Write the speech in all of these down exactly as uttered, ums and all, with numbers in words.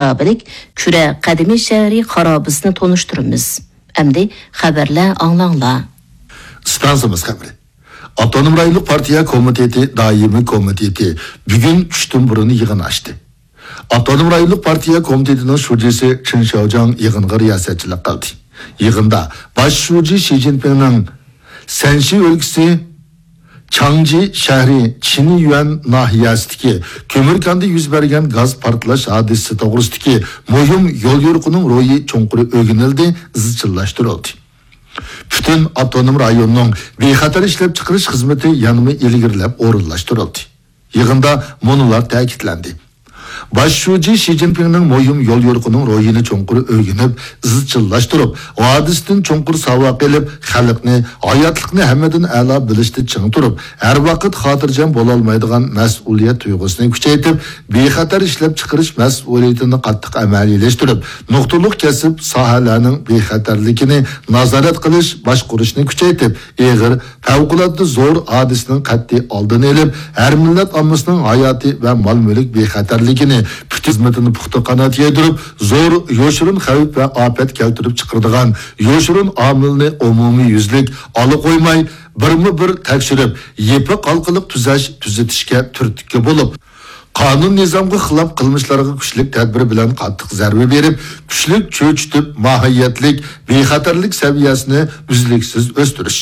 مۇتابىق كۈرە قەدىمىي شەھىرى خارابىسىنى تونۇشتۇرىمىز. ئەمدى خەۋەرلەر ئاڭلاڭلار. ئىستانسىمىز خەۋىرى. ئاپتونوم رايونلۇق پارتىيە كومىتېتى دائىمىي كومىتېتى بۈگۈن چۈشتىن بۇرۇن يىغىن ئاچتى. ئاپتونوم رايونلۇق پارتىيە كومىتېتىنىڭ شۇجىسى چېن شياۋجياڭ يىغىنغا رىياسەتچىلىك قىلدى. يىغىندا باش شۇجى شى جىنپىڭنىڭ سەنشى ئۆلكىسى چاڭجى شەھىرى چىنيۈەن ناھىيەسىدىكى كۆمۈر كاندا يۈز بەرگەن گاز پارتلاش ھادىسىسى توغرىسىدىكى مۇھىم يوليورۇقىنىڭ روھى چوڭقۇر ئۆگىنىلدى، ئىزچىللاشتۇرۇلدى. پۈتۈن ئاپتونوم رايوننىڭ بىخەتەر ئىشلەپچىقىرىش خىزمىتى يەنىمۇ ئىلگىرىلەپ ئورۇنلاشتۇرۇلدى. يىغىندا مۇنۇلار تەكىتلەندى. باش شۇجى شى جىنپىڭنىڭ مۇھىم يوليورۇقىنىڭ روھىنى چوڭقۇر ئۆگىنىپ، ئىزچىللاشتۇرۇپ، ھادىسىدىن چوڭقۇر ساۋاق ئېلىپ، خەلقنى، ھاياتلىقنى ھەممىدىن ئەلا بىلىشتە چىڭ تۇرۇپ، ھەر ۋاقىت خاتىرجەم بولالمايدىغان مەسئۇلىيەت تۇيغۇسىنى كۈچەيتىپ، بىخەتەر ئىشلەپچىقىرىش مەسئۇلىيىتىنى قاتتىق ئەمەلىيلەشتۈرۈپ، نۇقتىلىق كەسىپ ساھەلەرنىڭ بىخەتەرلىكىنى نازارەت قىلىش، باشقۇرۇشنى كۈچەيتىپ، ئېغىر، پەۋقۇلئاددە زور ھادىسىنىڭ قەتئىي ئالدىنى ئېلىپ، ھەر مىللەت ئاممىسىنىڭ ھاياتى ۋە مال-مۈلۈك بىخەتەرلىكىنى پۈتۈن خىزمىتىنى پۇختا قانات يايدۇرۇپ، زور يوشۇرۇن خەۋپ ۋە ئاپەت كەلتۈرۈپ چىقىرىدىغان يوشۇرۇن ئامىلنى ئومۇميۈزلۈك ئالا قويماي، بىرمۇ بىر تەكشۈرۈپ، يېپىق ھالقىلىق تۈزەش، تۈزىتىشكە تۈرتكە بولۇپ، قانۇن-نىزامغا خىلاپ قىلمىشلارغا كۈچلۈك تەدبىر بىلەن قاتتىق زەربە بېرىپ، كۈچلۈك چۆچۈتۈپ، ماھىيەتلىك بىخەتەرلىك سەۋىيەسىنى ئۈزلۈكسىز ئۆستۈرۈش.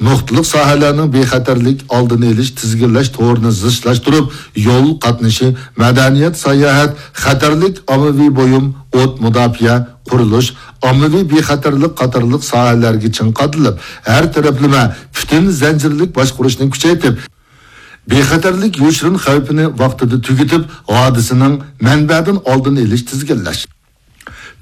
نۇقتىلىق ساھەلەرنىڭ بىخەتەرلىك ئالدىنى ئېلىش، تىزگىنلەش تورىنى زىچلاشتۇرۇپ، يول قاتنىشى، مەدەنىيەت، ساياھەت، خەتەرلىك ئاممىۋى بۇيۇم، ئوت مۇداپىئە، قۇرۇلۇش، ئاممىۋى بىخەتەرلىك قاتارلىق ساھەلەرگە چىڭ قادىلىپ، ھەر تەرەپلىمە پۈتۈن زەنجىرلىك باشقۇرۇشنى كۈچەيتىپ، بىخەتەرلىك يوشۇرۇن خەۋپىنى ۋاقتىدا تۈگىتىپ، ھادىسىنىڭ مەنبەدىن ئالدىنى ئېلىش، تىزگىنلەش.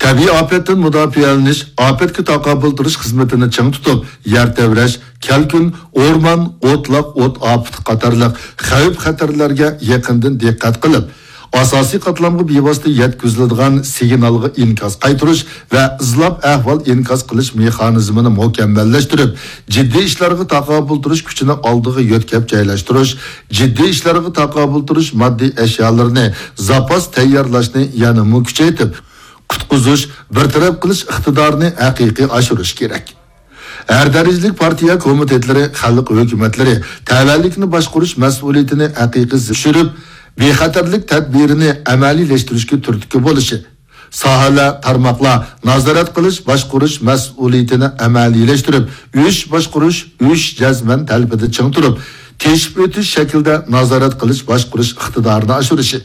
تەبىئىي ئاپەتتىن مۇداپىئەلىنىش، ئاپەتكە تاقابىل تۇرۇش خىزمىتىنى چىڭ تۇتۇپ، يەر تەۋرەش، كەلكۈن، ئورمان، ئوتلاق، ئوت ئاپىتى قاتارلىق خەۋپ-خەتەرلەرگە يېقىندىن دىققەت قىلىپ، ئاساسىي قاتلامغا بىۋاسىتە يەتكۈزۈلىدىغان سىگنالغا ئىنكاس قايتۇرۇش ۋە ئىزلاپ ئەھۋال ئىنكاس قىلىش مېخانىزمىنى مۇكەممەللەشتۈرۈپ، جىددىي ئىشلارغا تاقابىل تۇرۇش كۈچىنى ئالدىغا يۆتكەپ جايلاشتۇرۇش، جىددىي ئىشلارغا تاقابىل تۇرۇش ماددىي ئەشيالىرىنى زاپاس تەييارلاشنى يەنىمۇ كۈچەيتىپ، قۇتقۇزۇش، بىر تەرەپ قىلىش ئىقتىدارىنى ھەقىقىي ئاشۇرۇش كېرەك. ھەر دەرىجىلىك پارتىيە كومىتېتلىرى، خەلق ھۆكۈمەتلىرى تەۋەلىكنى باشقۇرۇش مەسئۇلىيىتىنى ھەقىقىي زىچ چۈشۈرۈپ، بىخەتەرلىك تەدبىرىنى ئەمەلىيلەشتۈرۈشكە تۈرتكە بولۇشى، ساھەلەر، تارماقلار نازارەت قىلىش، باشقۇرۇش مەسئۇلىيىتىنى ئەمەلىيلەشتۈرۈپ، ئۈچ باشقۇرۇش، ئۈچ جەزمەن تەلىپىدە چىڭ تۇرۇپ، تېشىپ ئۆتۈش شەكلىدە نازارەت قىلىش، باشقۇرۇش ئىقتىدارىنى ئاشۇرۇشى.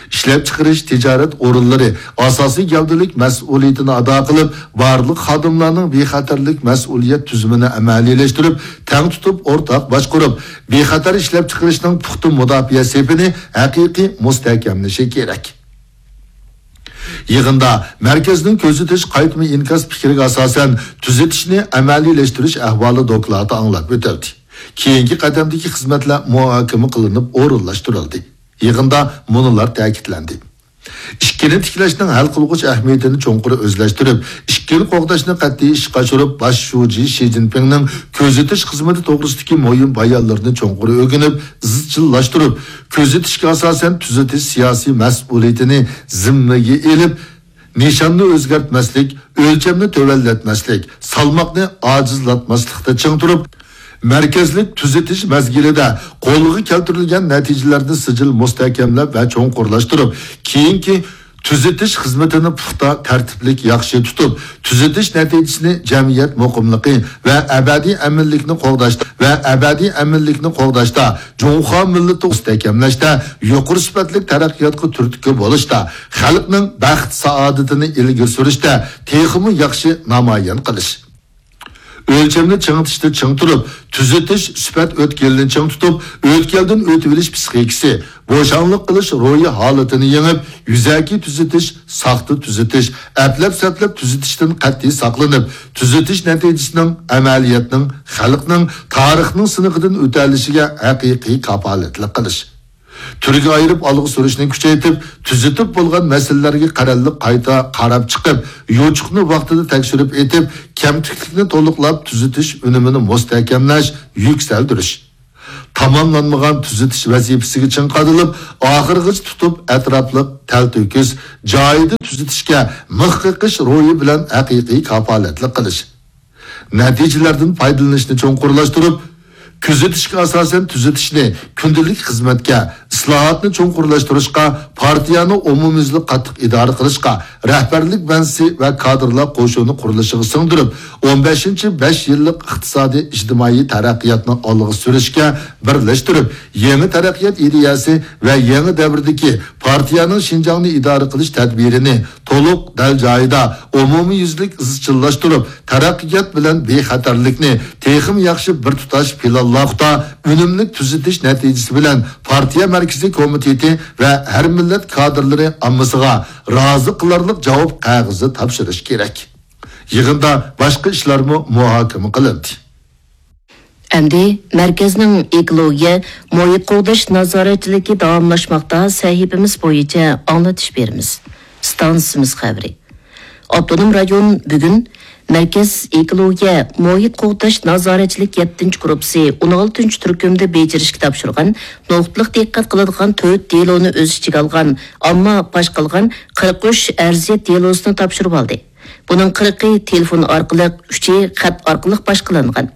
ئىشلەپچىقىرىش، تىجارەت ئورۇنلىرى ئاساسىي گەۋدىلىك مەسئۇلىيىتىنى ئادا قىلىپ، بارلىق خادىملارنىڭ بىخەتەرلىك مەسئۇلىيەت تۈزۈمىنى ئەمەلىيلەشتۈرۈپ، تەڭ تۇتۇپ، ئورتاق باشقۇرۇپ، بىخەتەر ئىشلەپچىقىرىشنىڭ پۇختا مۇداپىئە سېپىنى ھەقىقىي مۇستەھكەملىشى كېرەك. يىغىندا مەركەزنىڭ كۆزىتىش قايتما ئىنكاس پىكرىگە ئاساسەن تۈزىتىشنى ئەمەلىيلەشتۈرۈش ئەھۋالى دوكلاتى ئاڭلاپ ئۆتۈلدى. كېيىنكى قەدەمدىكى خىزمەتلەر مۇھاكىمە قىلىنىپ ئورۇنلاشتۇرۇلدى. يىغىندا مۇنۇلار تەكىتلەندى. ئىككىنى تىكلەشنىڭ ھەل قىلغۇچ ئەھمىيىتىنى چوڭقۇر ئۆزلەشتۈرۈپ، ئىككىنى قوغداشنى قەتئىي ئىشقا ئاشۇرۇپ، باش شۇجى شى جىنپىڭنىڭ كۆزىتىش خىزمىتى توغرىسىدىكى مۇھىم بايانلىرىنى چوڭقۇر ئۆگىنىپ، ئىزچىللاشتۇرۇپ، كۆزىتىشكە ئاساسەن تۈزىتىش سىياسىي مەسئۇلىيىتىنى زىممىگە ئېلىپ، نىشاننى ئۆزگەرتمەسلىك، ئۆلچەمنى تۆۋەنلەتمەسلىك، سالماقنى ئاجىزلاتماسلىقتا چىڭ تۇرۇپ، مەركەزلىك تۈزىتىش مەزگىلىدە قولغا كەلتۈرۈلگەن نەتىجىلەرنى سىجىل مۇستەھكەملەپ ۋە چوڭقۇرلاشتۇرۇپ، كېيىنكى تۈزىتىش خىزمىتىنى پۇختا، تەرتىپلىك، ياخشى تۇتۇپ، تۈزىتىش نەتىجىسىنى جەمئىيەت مۇقىملىقى ۋە ئەبەدىي ئەمىنلىكنى قوغداش، ۋە ئەبەدىي ئەمىنلىكنى قوغداشتا، جۇڭخۇا مىللىتى مۇستەھكەملەشتە، يۇقىرى سۈپەتلىك تەرەققىياتقا تۈرتكە بولۇشتا، خەلقنىڭ بەخت-سائادىتىنى ئىلگىرى سۈرۈشتە تېخىمۇ ياخشى نامايان قىلىش. ئۆلچەمنى چىڭىتىشتا چىڭ تۇرۇپ، تۈزىتىش سۈپەت ئۆتكىلىنى چىڭ تۇتۇپ، ئۆتكەلدىن ئۆتۈۋېلىش پىسخىكىسى، بوشاڭلىق قىلىش روھىي ھالىتىنى يېڭىپ، يۈزەكى تۈزىتىش، ساختا تۈزىتىش، ئەپلەپ-سەپلەپ تۈزىتىشتىن قەتئىي ساقلىنىپ، تۈزىتىش نەتىجىسىنىڭ ئەمەلىيەتنىڭ، خەلقنىڭ، تارىخنىڭ سىنىقىدىن ئۆتەلىشىگە ھەقىقىي كاپالەتلىك قىلىش. تۈرگە ئايرىپ ئالغا سۈرۈشنى كۈچەيتىپ، تۈزىتىپ بولغان مەسىلىلەرگە قەرەللىك قايتا قاراپ چىقىپ، يوچۇقنى ۋاقتىدا تەكشۈرۈپ ئېتىپ، كەمتۈكلۈكنى تولۇقلاپ، تۈزىتىش ئۈنۈمىنى مۇستەھكەملەش، يۈكسەلدۈرۈش. تاماملانمىغان تۈزىتىش ۋەزىپىسىگە چىڭ قادىلىپ، ئاخىرغىچە تۇتۇپ، ئەتراپلىق، تەلتۆكۈس، جايىدا تۈزىتىشكە مىخ قېقىش روھى بىلەن ھەقىقىي كاپالەتلىك قىلىش. نەتىجىلەردىن پايدىلىنىشنى چوڭقۇرلاشتۇرۇپ، كۆزىتىشكە ئاساسەن تۈزىتىشنى كۈندىلىك خىزمەتكە، ئىسلاھاتنى چوڭقۇرلاشتۇرۇشقا، پارتىيەنى ئومۇميۈزلۈك قاتتىق ئىدارە قىلىشقا، رەھبەرلىك بەنزىسى ۋە كادىرلار قوشۇنى قۇرۇلۇشىغا سىڭدۈرۈپ، ئون بەشىنچى بەش يىللىق ئىقتىسادىي ئىجتىمائىي تەرەققىياتنى ئالغا سۈرۈشكە بىرلەشتۈرۈپ، يېڭى تەرەققىيات ئىدىيەسى ۋە يېڭى دەۋردىكى پارتىيەنىڭ شىنجاڭنى ئىدارە قىلىش تەدبىرىنى تولۇق، دەل جايىدا، ئومۇميۈزلۈك ئىزچىللاشتۇرۇپ، تەرەققىيات بىلەن بىخەتەرلىكنى تېخىمۇ ياخشى بىر تۇتاش پىلانلىق، ئۈنۈملۈك تۈزىتىش نەتىجىسى بىلەن پارتىيە مەركىزىي كومىتېتى ۋە ھەر مىللەت كادىرلىرى ئاممىسىغا رازى قىلارلىق جاۋاب قەغىزى تاپشۇرۇش كېرەك. يىغىندا باشقا ئىشلارمۇ مۇھاكىمە قىلىندى. ئەمدى مەركەزنىڭ ئېكولوگىيە، مۇھىت قوغداش نازارەتچىلىكى داۋاملاشماقتا سەھىپىمىز بويىچە ئاڭلىتىش بېرىمىز. ئىستانسىمىز خەۋىرى. ئاپتونوم رايون بۈگۈن مەركەز ئېكولوگىيە، مۇھىت قوغداش نازارەتچىلىك يەتتىنچى گۇرۇپپىسى ئون ئالتىنچى تۈركۈمدە بېجىرىشكە تاپشۇرغان نۇقتىلىق دىققەت قىلىدىغان تۆت دېلونى ئۆز ئىچىگە ئالغان ئامما پاش قىلغان قىرىق ئۈچ ئەرزىيەت دېلوسىنى تاپشۇرۇۋالدى. بۇنىڭ قىرىقى تېلېفون ئارقىلىق، ئۈچى خەت ئارقىلىق باشقىلانغان.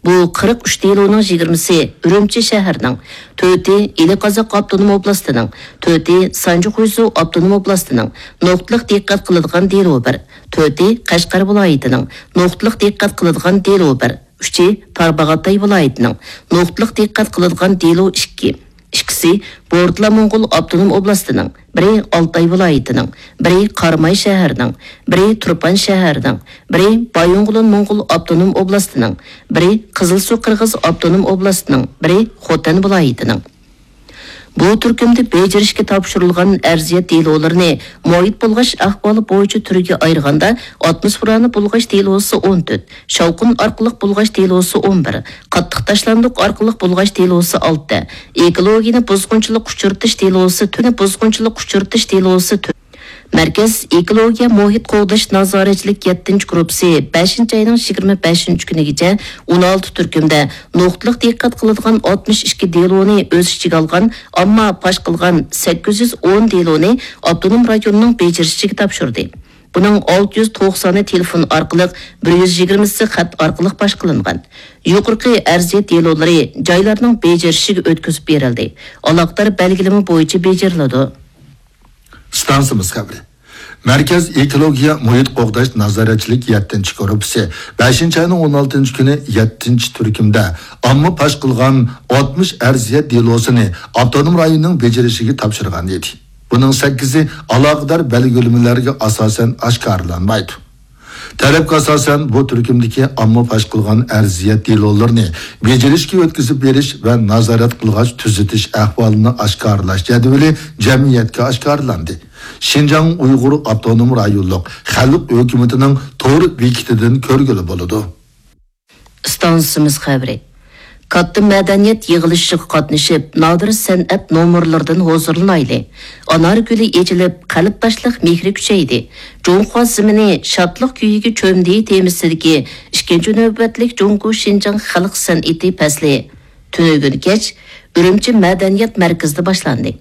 بۇ قىرىق ئۈچ دېلونىڭ يىگىرمىسى ئۈرۈمچى شەھىرىنىڭ، تۆتى ئىلى قازاق ئاپتونوم ئوبلاستىنىڭ، تۆتى سانجى خۇيزۇ ئاپتونوم ئوبلاستىنىڭ، نۇقتىلىق دىققەت قىلىدىغان دېلو بىر، تۆتى قەشقەر ۋىلايىتىنىڭ، نۇقتىلىق دىققەت قىلىدىغان دېلو بىر، ئۈچى تارباغاتاي ۋىلايىتىنىڭ، نۇقتىلىق دىققەت قىلىدىغان دېلو ئىككى، ئىككىسى بورتالا موڭغۇل ئاپتونوم ئوبلاستىنىڭ، بىرى ئالتاي ۋىلايىتىنىڭ، بىرى قاراماي شەھىرىنىڭ، بىرى تۇرپان شەھىرىنىڭ، بىرى بايىنغولىن موڭغۇل ئاپتونوم ئوبلاستىنىڭ، بىرى قىزىلسۇ قىرغىز ئاپتونوم ئوبلاستىنىڭ، بىرى خوتەن ۋىلايىتىنىڭ. بۇ تۈركۈمدە بېجىرىشكە تاپشۇرۇلغان ئەرزىيەت دېلولىرىنى مۇھىت بۇلغاش ئەھۋالى بويىچە تۈرگە ئايرىغاندا، ئاتموسفېرانى بۇلغاش دېلوسى ئون تۆت، شاۋقۇن ئارقىلىق بۇلغاش دېلوسى ئون بىر، قاتتىق تاشلاندۇق ئارقىلىق بۇلغاش دېلوسى ئالتە، ئېكولوگىيىنى بۇزغۇنچىلىق ئۇچرىتىش دېلوسى، تۈنى بۇزغۇنچىلىق ئۇچرىتىش دېلوسى تۆت. مەركەز ئېكولوگىيە مۇھىت قوغداش نازارەتچىلىك يەتتىنچى گۇرۇپپىسى بەشىنچى ئاينىڭ يىگىرمە بەشىنچى كۈنىگىچە ئون ئالتە تۈركۈمدە نۇقتىلىق دىققەت قىلىدىغان ئاتمىش ئىككى دېلونى ئۆز ئىچىگە ئالغان، ئامما پاش قىلغان سەككىز يۈز ئون دېلونى ئاپتونوم رايوننىڭ بېجىرىشىگە تاپشۇردى. بۇنىڭ ئالتە يۈز توقسانى تېلېفون ئارقىلىق، بىر يۈز يىگىرمىسى خەت ئارقىلىق پاش قىلىنغان. يۇقىرىقى ئەرزىيەت دېلولىرى جايلارنىڭ بېجىرىشىگە ئۆتكۈزۈپ بېرىلدى. ئالاقىدار بەلگىلىمە بويىچە بېجىرىلىدۇ. ئىستانسىمىز خەۋىرى. مەركەز ئېكولوگىيە مۇھىت قوغداش نازارەتچىلىك يەتتىنچى گۇرۇپپىسى بەشىنچى ئاينىڭ ئون ئالتىنچى كۈنى يەتتىنچى تۈركۈمدە ئامما پاش قىلغان ئاتمىش ئەرزىيەت دېلوسىنى ئاپتونوم رايوننىڭ بېجىرىشىگە تاپشۇرغان ئىدى. بۇنىڭ سەككىزى ئالاقىدار بەلگىلىمىلەرگە ئاساسەن ئاشكارىلانمايدۇ. تەلەپكە ئاساسەن، بۇ تۈركۈمدىكى ئامما پاش قىلغان ئەرزىيەت دېلولىرىنى بېجىرىشكە ئۆتكۈزۈپ بېرىش ۋە نازارەت قىلغاچ تۈزىتىش ئەھۋالىنى ئاشكارىلاش جەدۋىلى جەمئىيەتكە ئاشكارىلاندى. شىنجاڭ ئۇيغۇر ئاپتونوم رايونلۇق خەلق ھۆكۈمىتىنىڭ تور بېكىتىدىن كۆرگىلى بولىدۇ. ئىستانسىمىز خەۋىرى. كاتتا مەدەنىيەت يىغىلىشىغا قاتنىشىپ، نادىر سەنئەت نومۇرلىرىدىن ھۇزۇرلىنايلى. ئانار گۈلى ئېچىلىپ، قەلبداشلىق مېھرى كۈچەيدى. جۇڭخۇا زېمىنى شادلىق كۈيىگە چۆمدى تېمىسىدىكى ئىككىنچى نۆۋەتلىك جۇڭگو شىنجاڭ خەلق سەنئىتى پەسلى تۈنۈگۈن كەچ ئۈرۈمچى مەدەنىيەت مەركىزىدە باشلاندى.